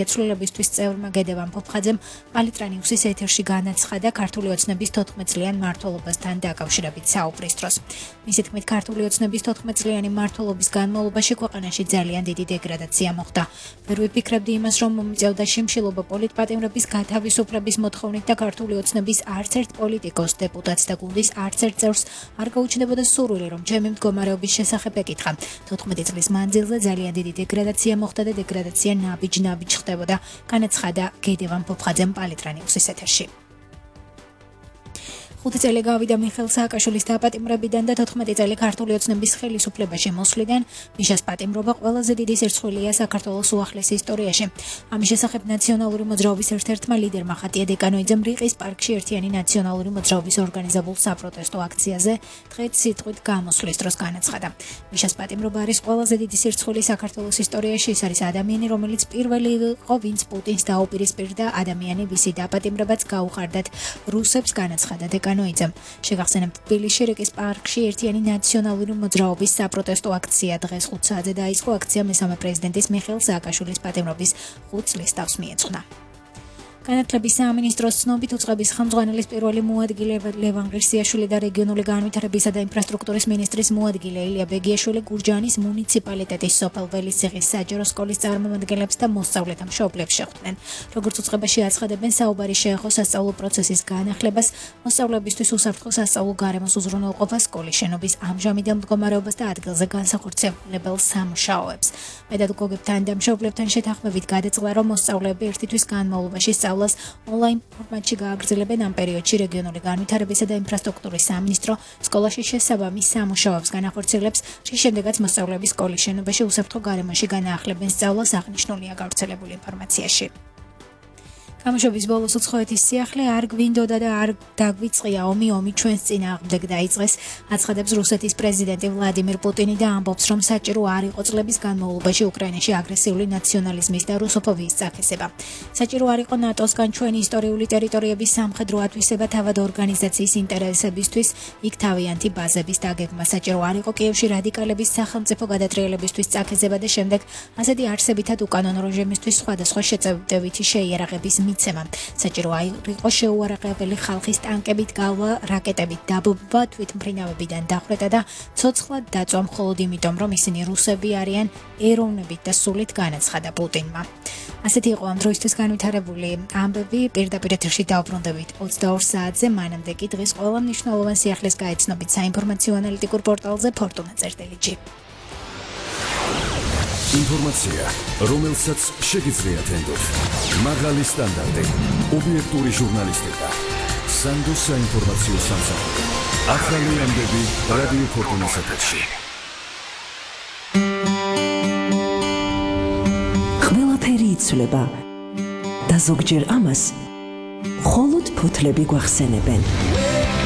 ცვლილებისთვის წევრმა გედევან ფოფხაძემ პალიტრანიუსის ეთერში განაცხადა ქართული ოცნების 14-წლიან მმართველობასთან დაკავშირებით საუბრის დროს. მისი თქმით, ქართული ოცნების 14-წლიანი მმართველობის განმავლობაში ქვეყანაში ძალიან დიდი დეგრადაცია მოხდა. ვერ ვიფიქრებდი იმას, რომ მომიწევდა შიმშილობა პოლიტპატიმრების გათავისუფლების მოთხოვნით და ქართული ოცნების არც ერთ პოლიტიკოს, დეპუტატს და გუნდის არც ერთ წევრს არ გაუჩნდებოდა სურვილი, რომ ჩემი მდგომარეობის შესახებ ეკითხა. 14 წლის მანძილზე ძალიან დიდი დეგრადაცია მოხდა და დეგრადაცია ნაბიჯ ხდებოდა, განაცხადა გედევან ფოფხაძემ პალიტრანიუსის ეთერში. 5 წელი გავიდა მიხეილ სააკაშვილის დაპატიმრებიდან და 14 წელი ქართული ოცნების ხელისუფლებაში მოსვლიდან მიშას პატიმრობა ყველაზე დიდი სირცხვილია საქართველოს უახლეს ისტორიაში. ამის შესახებ ნაციონალური მოძრაობის ერთ-ერთმა ლიდერმა ხატია დეკანოიძემ რიყის პარკში ერთიანი ნაციონალური მოძრაობის ორგანიზებულ საპროტესტო აქციაზე დღეს სიტყვით გამოსვლის დროს განაცხადა. მიშას პატიმრობა არის ყველაზე დიდი სირცხვილი საქართველოს ისტორიაში. ის არის ადამიანი, რომელიც პირველი იყო, ვინც პუტინს დაუპირისპირდა, ადამიანი, ვისი დაპატიმრებაც გაუხარდათ რუსებს, განაცხადა დეკანოიძემ. შეგახსენებთ, თბილისში რიყის პარკში ერთიანი ნაციონალური მოძრაობის საპროტესტო აქცია დღეს 5 საათზე დაიწყო. აქცია მესამე პრეზიდენტის მიხეილ სააკაშვილის პატიმრობის 5 წლის თავს მიეძღვნა. განათლების სამინისტროს ცნობით უწყების ხელმძღვანელის პირველი მოადგილე ლევან ღირსიაშვილი და რეგიონული განვითარებისა და ინფრასტრუქტურის მინისტრის მოადგილე ილია ბეგიაშვილი გურჯაანის მუნიციპალიტეტის სოფელ ველისციხის საჯარო სკოლის წარმომადგენლებს და მოსწავლეთა მშობლებს შეხვდნენ. როგორც უწყებაში აცხადებენ, საუბარი შეეხო სასწავლო პროცესის განახლებას, მოსწავლეებისთვის უსაფრთხო სასწავლო გარემოს უზრუნველყოფას, სკოლის შენობის ამჟამინდელ მდგომარეობას და ადგილზე განსახორციელებელ სამუშაოებს. პედაგოგებთან და მშობლებთან შეთანხმებით გადაწყდა, რომ მოსწავლეები ერთი თვის განმავლობაში ონლაინ ფორმატში გააგრძელებენ. ამ პერიოდში რეგიონული განვითარებისა და ინფრასტრუქტურის სამინისტრო სკოლაში შესაბამის სამუშაოებს განახორციელებს, რის შემდეგაც მოსწავლეები სკოლის შენობაში უსაფრთხო გარემოში განაახლებენ სწავლას, აღნიშნულია გავრცელებული ინფორმაციაში. გამოშვების ბოლოს უცხოეთის სიახლე არ გვინდოდა და არ დაგვიწყია ომი ჩვენს წინააღმდეგ დაიწყეს, აცხადებს რუსეთის პრეზიდენტი ვლადიმირ პუტინი და ამბობს, რომ საჭირო არ იყო წლების განმავლობაში უკრაინაში აგრესიული ნაციონალიზმის და რუსოფობიის წაქესება. საჭირო არ იყო ნატოსგან ჩვენი ისტორიული ტერიტორიების სამხედრო ათვისება თავად ორგანიზაციის ინტერესებისთვის, იქ თავიანთი ბაზების დაგეგმა. საჭირო არ იყო კიევში რადიკალების სახელმწიფო გადატრიელებისთვის წაქეზება და შემდეგ ასეთი არსებითად უკანონო რეჟიმისთვის სხვადასხვა შეწევდებითი შეიარაღების მიცემა. საჭირო იყო შეუარაღებელი ხალხის ტანკებით გავლა, რაკეტებით დაბობა, თვითმფრინავებიდან დახვრეტა და ცოცხლად დაწვა მხოლოდ იმიტომ, რომ ისინი რუსები არიან, ეროვნებით და სულით, განაცხადა პუტინმა. ასეთი იყო ამ დროისთვის განვითარებული ამბები. პირდაპირ ეთერში დავბრუნდებით 22 საათზე, მანამდე კი დღის ყველა მნიშვნელოვან სიახლეს გაეცნობით საინფორმაციო ანალიტიკურ პორტალზე Fortuna.gr. ინფორმაცია, რომელსაც შეგიძლიათ ენდოთ. მაღალი სტანდარტი, ობიექტური ჟურნალისტიკა. სანდოს საინფორმაციო სამსახური. ახალი ამბები რადიო Fortuna-ს ეთერში. ყველაფერი იცვლება და ზოგჯერ ამას მხოლოდ ფოთლები გვახსენებენ.